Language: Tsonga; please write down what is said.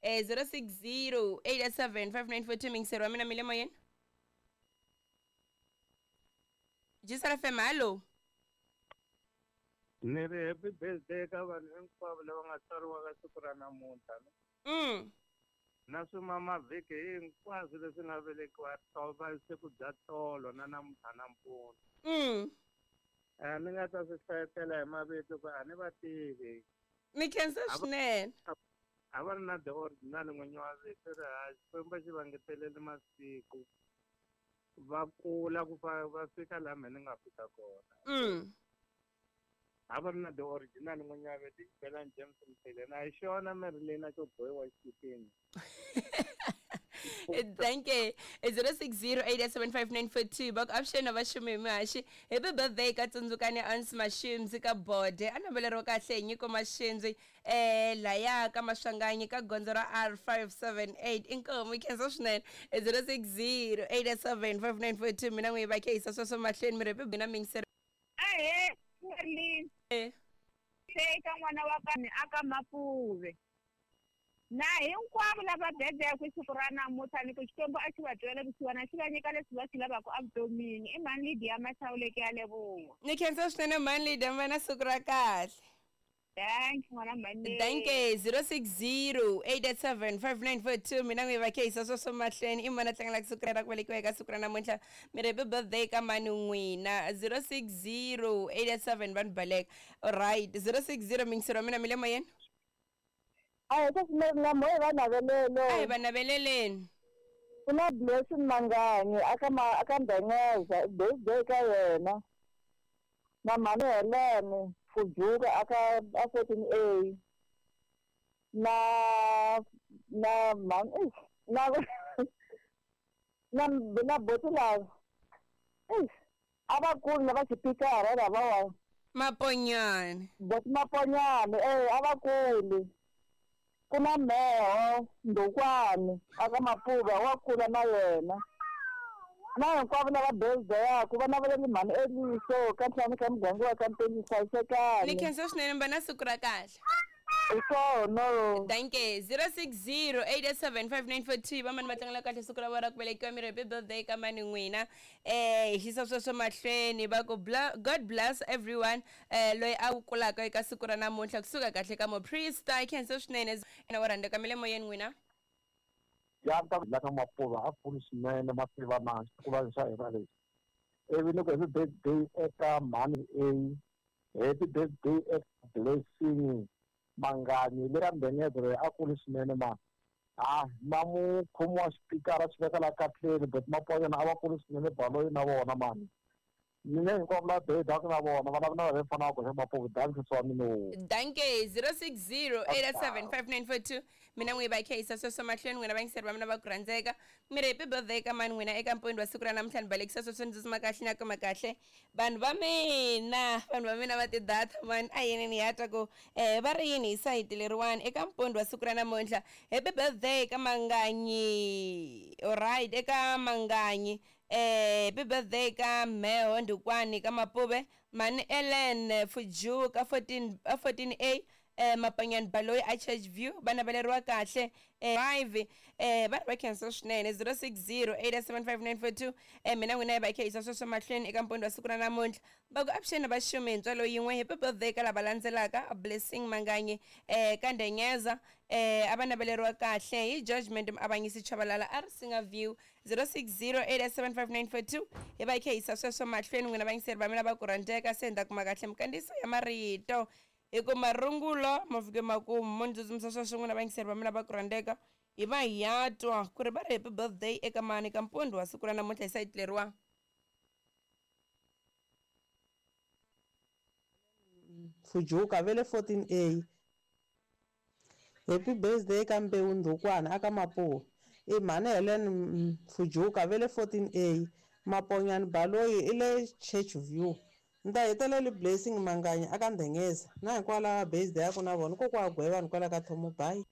060 87 5942 mingiseri wa mina mi le moyeni. Jisara FM, hallo. Ni ri happy birthday ka vanhu hinkwavo lava nga tswariwa ka siku ra namuntlha. Na swimamavhiki hinkwaswo leswi nga velekiwa tova siku bya tolo na namuntlha nampundzu. Ni nga ta swi hlayetela hi mavito ku a ni va tivi. Ni khensa swinene. A va ri na the original n'winyi wa vito ri ha Xikwembu xi va ngeteleli masiku va kula ku va fika laha mehe ni nga fika kona. A va ri na the original n'winyi wa vito Xibelani James Mthile na hi xona Marilena xo bohiwa xikipini. Thank you. 06087594 va ku avuxeni va xumi mihaxi. Happy birthday ka Tsundzukani Ans Mashimzi ka Bode. A naveleriwa kahle hi Nyiko Mashindzi laya ka Maswanganyi ka gondzo ra R578. Inkomu yi khensa swinene. 06087594 mina n'wi va khehisa sweswo mahlweni mi ri happy na mingiseri. Ahee, Merlin. Se ka n'wana wa ka ni aka Mapuve. Na hinkwavo lava bebeke siku ra namuntlha ni ku Xikwembu a xi va twela vusiwana xi va nyika leswi va swi lavaka evutomini. I mhani Lydia Mahlawuleke ya leboha. Ni khensa swinene mhani Lydia, mi va na siku ra kahle. Thanks n'wana mhani. Thank you. 0608875942 mina n'wi va khehisa sweswo mahlweni. I mani a tlangelaka siku ra ku velekiwa eka siku ra namuntlha? Mi ri happy birthday ka mani n'wina? 060887 vanhu baleka. Alright, 060 mingisero wa mina mi le moyeni. A hi sweswi na moya va navelele. A hi va naveleleni. Ku na Blessing Manganyi aka aka Mbenyeza, birthday ka yena. Na mhani Helene Fujuka aka a 14A. Na na mhani na na na boti lava. A va kulu lava xipikara lavawa. Maponyane. Boti Maponyane a va kulu. Ku na Meho Ndukwani aka Mapuva wa kula na yena. Na hinkwavo lava birthday ku va naveleli mhani Eliso ka ntlhanu ka muganga wa ka Mpeni hlayisekani. Ni khensa swinene mi va na siku ra kahle. Hi swona. Thank you. 0608875942 va mani va tlangela kahle siku ra vona ra ku velekiwa mi ri happy birthday ka mani n'wina. Hi xisa sweswo mahlweni va ku God bless everyone loyi a kulaka eka siku ra namuntlha kusuka kahle ka muprista. Hi khensa swinene na wa rhandzeka mi le moyeni n'wina. Ya ta la ka Mapuva a kulu swinene mativa na xitukulwana xa hina lexi. Ivi ni ku happy birthday eka mhani A, happy birthday eka Blessing Manganyi le ka Mbenyeza loyi a kulu swinene ma. Na mukhomi wa xipikara xi veka la katleni but Maponyana a va kulu swinene baloyi na vona mani. Mina hinkwavo lava birthday na vona va lava na va fanaka hi Mapuva danke swa mina. Danke. 0608875942 mina n'wi va khehisa sweswo mahlweni n'wina vayingiseri va mina va ku rhandzeka. Mi ri happy birthday ka mani n'wina eka mpfuni wa siku ra namuntlha ni balekisa sweswo ni tsutsuma kahle na kuma kahle. Vanhu va mina, vanhu va mina va ti-data mani a yini ni ya twa ku va ri yini hi sayiti leriwani eka mpfuni wa siku ra namuntlha. Happy birthday ka Manganyi. Alright, eka Manganyi. Happy birthday ka Mheho Ndukwani ka Mapuve, mhani Ellen Fujuka 14A Mapanyani Baloyi a Church View va naveleriwa kahle 5 va ri va khensa swinene. 0608755942 mina n'wina hi va khehisa sweswo mahlweni eka mpfuni wa siku ra namuntlha. Va ku avuxeni va xumi hi ntswalo yin'we. Happy birthday ka lava landzelaka Blessing Manganyi ka Ndenyeza a va naveleriwa kahle hi Judgment Muavanyisi Chabalala a ri Singa View. 0608755942 hi va khehisa sweswo mahlweni n'wina vayingiseri va mina va ku rhandzeka. Se ni ta kuma kahle mikandziyiso ya marito hi ku marungulo ma fike makumu mo ni tsutsumisa sweswo n'wina vayingiseri va mina va ku rhandzeka. Hi va hi ya twa ku ri va ri happy birthday eka mani ka mpfundzu wa siku ra namuntlha hi sayiti leriwa. Fujuka vele 14A. Happy birthday ka Mbewu Ndukwana aka Mapuva. I mhani Helen Fujuka vele 14A. Maponyani Baloyi i le Church View. Ni ta heteleli Blessing Manganyi aka Ndhengeza. Na hinkwavo lava birthday ya ku na vona kokwa Gweva ni kwala ka Thomo. Bye.